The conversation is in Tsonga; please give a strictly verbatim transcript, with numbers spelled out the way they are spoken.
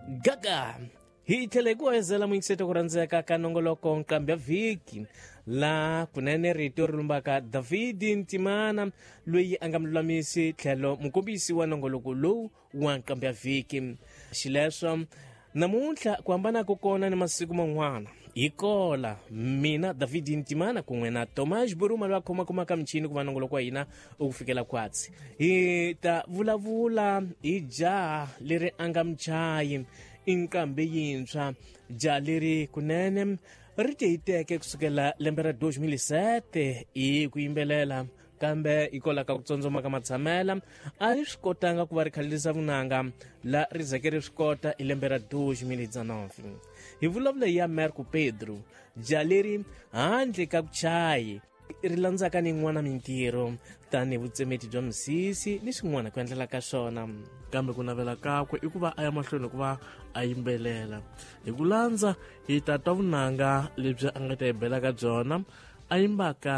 Gaga hi tlhela hi ku hezela muyingiseti ku rhandzeka ka nongoloko nqambi ya vhiki la kunene rito ri lumbaka David Ntimana loyi a nga mululamisi tlhelo mukombisi wa nongoloko lowu wa nqambi ya vhiki. Xileswo namuntlha ku hambana ko kona ni masiku man'wana hi kola mina David Ntimana kun'we na Tomas Buruma loyi a khomakhomaka michini ku va nongoloko wa hina u ku fikela kwatsi. Hi ta vulavula hi jaha leri a nga muchayi i nqambi yintshwa, jaha leri kunene ri tihiteke kusukela lembe ra two thousand seven hi ku yimbelela, kambe hikwalaho ka ku tsandzama ka matshamela a ri swi kotanga ku va ri khalisa vunanga la ri zeke ri swi kota hi lembe ra two thousand nine. Hi vulavula ya Marco Pedro, jaha leri handle ka ku chayi ri landzaka ni yin'wana mintirho tanihi vutsemeti bya misisi ni swin'wana ku endlela ka swona, kambe ku navela kakwe i ku va a ya mahlweni ku va a yimbelela. Hi ku landza hi ta twa vunanga lebyi a nga ta hi bela ka byona a yimbaka.